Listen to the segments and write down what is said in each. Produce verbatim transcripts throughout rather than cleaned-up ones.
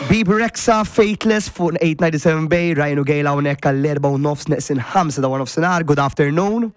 Bebe Rexha, Faithless fuq eight ninety-seven Bay, Ryan u Gail hawnhekk għall-erba' u nofs neqsin ħamsa ta' nofsinhar. Good afternoon.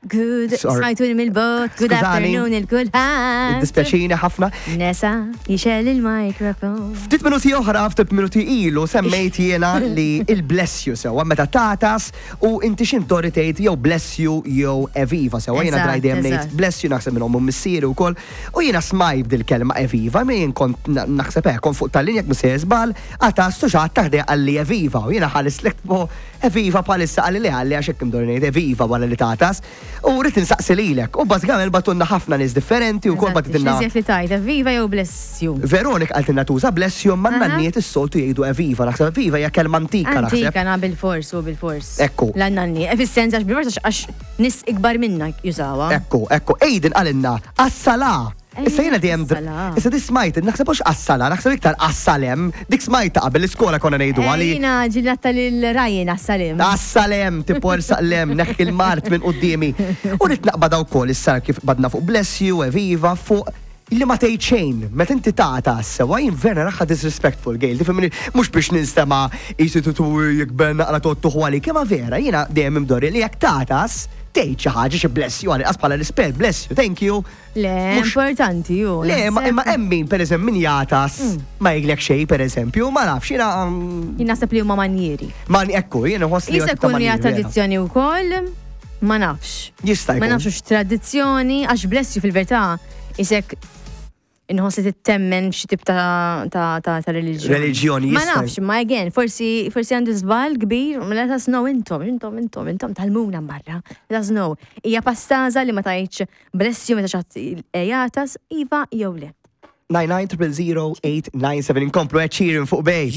Good, Sorry. smajtuni mill-bogħod, good Skużani. afternoon lil kulħadd. Dispjaċini ħafna. Nesa, jixgħel il-mikrofon. Ftit minuti oħra, ftit minuti ilu, semmejt jiena li il-bless you sewa, meta tagħtas u inti x'intori tgħid jew bless you jew eviva sewa. Jiena Eżatt, draj dejjem ngħid eżatt. bless you, naħseb minn ommu missieri wkoll. U jiena smajt dil-kelma eviva, min kont na- naħseb hekk kont fuq tal-linja jekk mhux żball, għatas tu xi ħadd taħdej qalli eviva u jiena ħares lek bo eviva palissa qalli li qalli għax hekk imdorri ngħid eviva wara li tagħtas. U rrid insaqsi lilek. U bażikament bagħtulna ħafna nies differenti u kol bagħtitilna X'iżjed li tgħid, viva jew bless you? Veronika qaltilna tuża bless you, ma Aha. nanniet is-soltu jgħidu eviva. Naħseb eviva hija kelma antika naħseb. Antika na bil-fors u bil-fors. Ekku. L-nanni. E fis-sens għax bil-fors għax nies ikbar minna jużawha. Ekku, ekku, Aiden qalilna assala. Issa jiena dejjem Assala. Issa di smajt, naħseb mhux assala, naħseb iktar assalem. Dik smajta qabel l-iskola konna ngħidu għali. Jiena ġillatta lil Ryan assalim. Assalem, tipo saqlem, neħħi l-mard minn quddiemi. U rrid naqbad wkoll issa kif badna fuq bless you, eviva, fuq li ma tgħid xejn, meta inti tagħtas sewa jien vera naraha disrespectful, Gail, tifhimni, mhux biex ninstema' qisu tutu jikber naqra tottu għali, kemm vera, jiena dejjem imdorri li jekk tagħtas tgħid xi ħaġa, xi bless you, għal bħala rispett, bless you, thank you. Le, Mhux- importanti ju. Le, ma naħseb. imma hemm min pereżempju min jagħtas ma jgħidlek xejn pereżempju, ma nafx jiena um, Jien naħseb li huma manjieri. Ma ekku, jiena nħoss li Jista' ta' jkun hija manjieri, vera. tradizzjoni wkoll, ma nafx. Jista' Ma jkun. nafx hux tradizzjoni, għax bless you fil-verità isek inħoss li tittemmen f'xi tip ta' ta' ta' ta' reliġjoni. Reliġjoni, Ma jista' nafx, ma again, forsi forsi għandu żball kbir, ma let us know intom, intom, intom, intom tal-muna barra. Let us know. Hija pastaza li ma tgħidx bless you meta xi ħadd jagħtas, iva jew le? nine nine zero zero eight nine seven, inkomplu Ed Sheeran fuq Bay.